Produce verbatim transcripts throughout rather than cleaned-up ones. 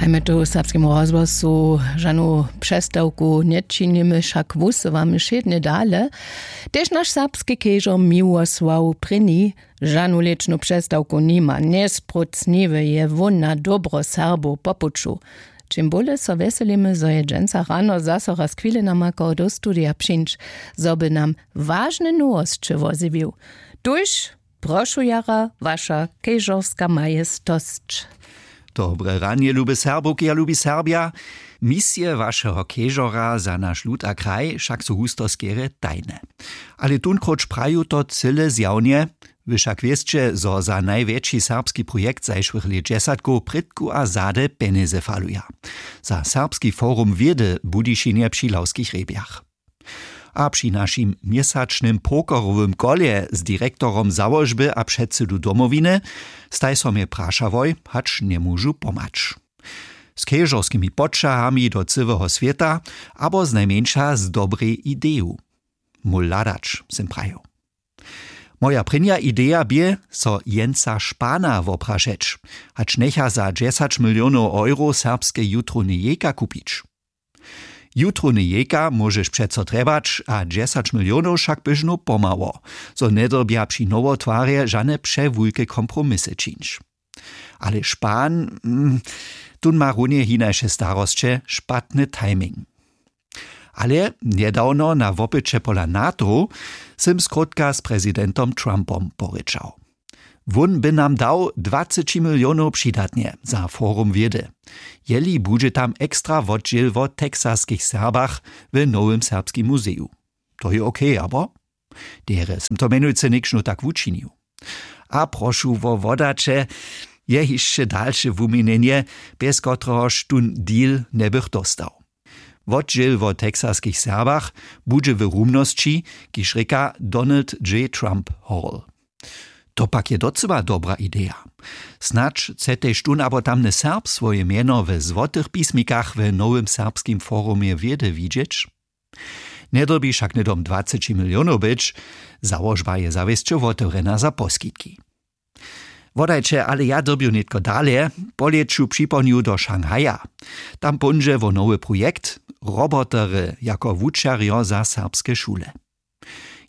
A my tu w serbskim rozhłosu žanu přestawku nječinimy, wšak wusyłamy wšědnje dale. Tež naš serbski kežor Miłosław prěni žanu lěćnu přestawku nima. Njespróc niwy je wón na dobro Serbow po puću. Čim bóle so wjeselimy, zo je dźensa rano zaso raz chwile namakał do studija přińć, zo by nam wažne nowosće wozjewił. Tuž prošu jara, waša kežorska majestosć. Dobre ranje, lube Serbowki a lubi Serbja. Misije wašeho kežora za naš lud a kraj wšak su husto skerje tajne. Ale tunkróć praju to cyle zjawnje. Wy wšak wěsće, zo za najwjetši serbski projekt zašłych lětdźesatkow prědku a zady pjenjezy faluja. Za Serbski forum wědy w Budyšinje při Lawskich rjebjach. A při našim měsačnym pokerowym kolje z direktorom załožby a předsydu Domowiny staj so mje prašałoj, hač njemóžu pomhać. Z kežorskimi poćahami do cyłeho swěta abo znajmjeńša z dobrej ideju? Móhł hladać, sym prajił. Moja prěnja ideja bě, so Jensa Spana woprašeć, hač njecha za dźesać milionow euro serbske jutrowne jejka kupić. Jutrowne jejka móžeš přeco trjebać, a dźesać milionow wšak běžnu pomhało, zo njedyrbja při nowotwarje žane přewulke kompromisy čińć. Ale Span, mm, tón ma runje hinaše starosće, špatny timing. Ale njedawno na wopyće pola NATO sym skrótka z prezidentom Trumpom porěčał. Wón by nam dał dwaceći milionow přidatnje za forum wědy, jeli budźe tam ekstra wotdźěl wo texaskich Serbach w nowym serbskim muzeju. To je okej, abo? Derje sym to mjenujcy někšnu tak wučinił. A prošu wo wodaće, je hišće dalše wuměnjenje, bjez kotrehož tón deal njebych dóstał. Wotdźěl wo texaskich Serbach budźe w rumnosći, kiž rěka Donald J Trump Hall. To pak je docyła dobra ideja. Snadź chce tež tón abo tamny Serb swoje mjeno w złotych pismikach w nowym serbskim forumje wědy widźeć. Njedyrbi wšak hnydom dwaceći milionow być. Załožba je zawěsće wotewrjena za poskitki. Wodajće, ale ja dyrbju nětko dale. Po lěću připołdnju do Šanghaja. Tam póńdźe wo nowy projekt: robotery jako wučerjo za serbske šule.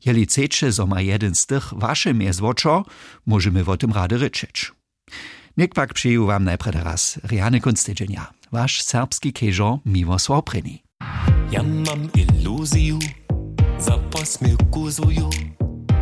Jeli chceće, zo ma jedyn z tych waše mjez wočo, móžemy wo tym rady rěčeć. Něk pak přeju wam najprjedy raz rjany kónc tydźenja. Waš serbski kežor Miłosław Prěni. Ja mam iluziju za posměwku zuju.